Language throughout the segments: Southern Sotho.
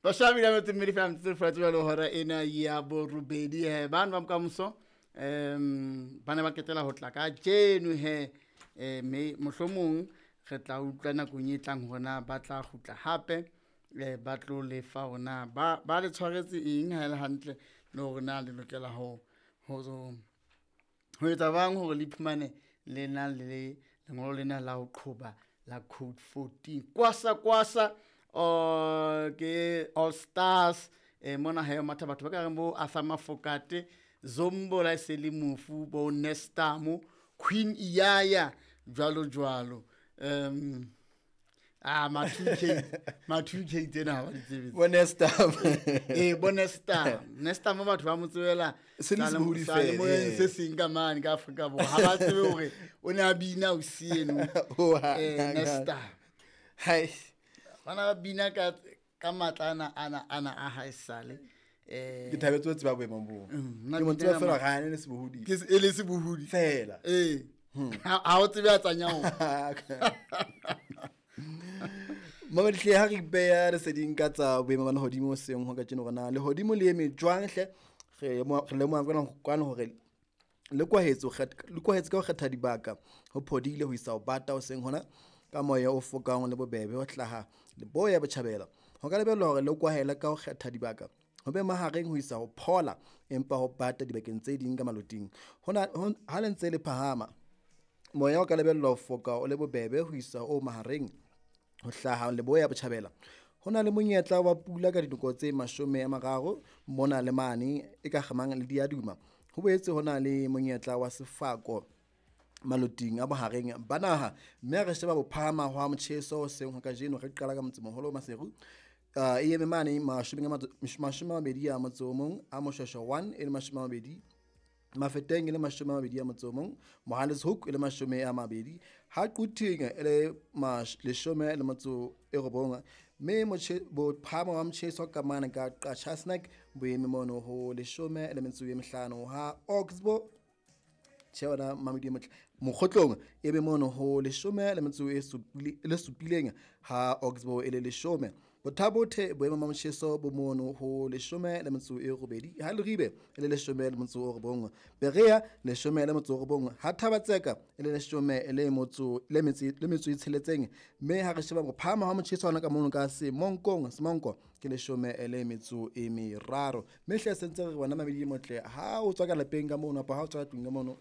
Bashabi la motse mmedi fela motse fela tsela le hora ena ya borobedi he bana ba bokamoso ba ne ba ketela ho tla ka jeno he me mohlomong re tla utlwa nakong e tlang hore na ba tla kgutla hape ba tlo lefa hore na ba le tshwaretse eng ha e le hantle le hore na le lokela ho etsa bang hore le iphumane le na le lengolo lena la ho qhoba la code 14 kwasa kwasa ke All Stars mona ha matha batho ba ka reng bo Arthur Mafokate Zombo la se le mofu bo Nestamo Queen Iyaya jwalo jwalo ma 2K ma 2K tsena ha ba di tsebe bo Nestam bo Nestam Nestam batho ba mo tsebela se le sehodi fela se seng ka mane ka Afrika Borwa ha ba tsebe hore o ne a bina o sieno Nestam hai bana ba bina ka matla ana ana a ha esale ke thabetse ho tseba boemong bo ke mo tseba fela ga ene le sebohodi ke e le sebohodi fela ha o tsebe a tsanyao Mamadihle ha re beya leseding ka tsa boemo ba lehodimo seng ho ka tjeno rona lehodimo le eme jwang hle re lemoha kwana hore le kwahetse ka ho kgetha dibaka ho phodile ho isa ho bata ho seng hona ka moya o fokang le bobebe ho hlaha leboya botjhabela ho ka lebellwa hore le kwahela ka ho kgetha dibaka ho be mahareng ho isa ho phola empa ho bata dibakeng tse ding ka maloting hona ha le ntse le phahama moya o ka lebellwa ho foka o le bobebe ho isa o mahareng ho hlaha leboya botjhabela ho na le monyetla wa pula ka dinako tse 30 mona le mane e ka kgamang le diaduma ho boetse ho na le monyetla wa sefako maloting a bohareng ba naha mme re sheba bophahama hwa motjheso seng ho kajeno re qala ka motsemoholo Maseru e eme mane 21 a motse o mong a Moshweshwe 1 e le 20 Mafeteng e le 21 a motse o mong Mohale's Hoek e le 20 ha Quthing e le 19 mme bophahamo ba motjheso ka mane ka Qachatsnek bo eme mono ho 15 ha Oxbow tjhe mamedi motle Mokgotlong e be mono ho 17 ha Oxbow e le 10 Bothabothe boemo ba motjheso bo mono ho 18 ha Leribe e le 19 Berea 19 ha Thabatseka e le 16 mme ha re sheba bophahamo ha motjheso hona ka mono ka Semonkong Semonko ke 13 mme hle sentse re bona mamedi motle ha o tswa ka lapeng ka mono apa ha o tswa tlung ka mono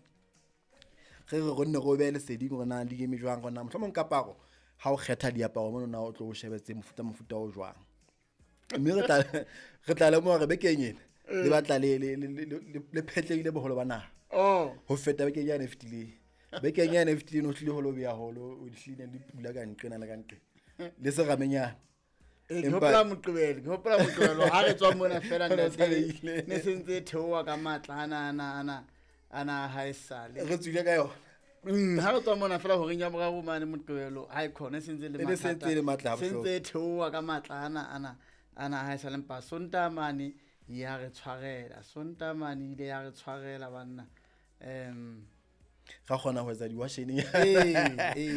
re re gonne go be leseding gore na di eme jwang gona mohlomong kaparo ha o kgetha diaparo mono na o tlo o shebetse mofuta o jwang mme re tla lemoha re bekeng ena le batla le phetlehile boholo ba naha ho feta bekeng yane e fetileng bekeng yane e fetileng o tlile ho lo beya holo o tlile le pula ka nqena le ka nqena le seramenyana ke hopola moqebelo ha re tswa mona fela ne se ntse theoha ka matla ana ha esale re tswile ka yona ha re tswa mona fela horeng ya boraro mane moqebelo ha e khona sentse le matla sentse le matla sentse theoha ka matla ana ha esale mpa Sontaha mane ya re tshwarela Sontaha mane ile ya re tshwarela banna ra kgona ho etsa diwashening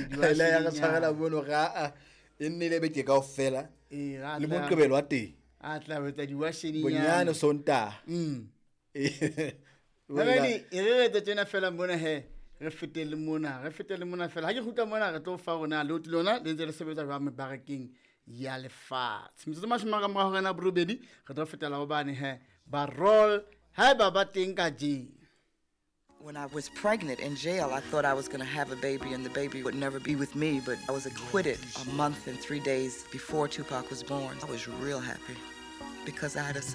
diwashening ya re tshwarela mono ra e nnile beke kaofela le moqebelo wa teng a tla etsa diwashening bonyane Sontaha Babedi e re etse tjena fela mona he re fetele mona fela ha ke kgutla mona re tlo fa rona le lona le ntse le sebetsa jwang mebarakeng ya lefatshe metsotso 10 ka mora hora ya borobedi re tlo fetela hobane he ba roll haeba ba teng ka jeno. When I was pregnant in jail, I thought I was going to have a baby and the baby would never be with me, but I was acquitted a month and 3 days before Tupac was born. I was real happy because I had a son.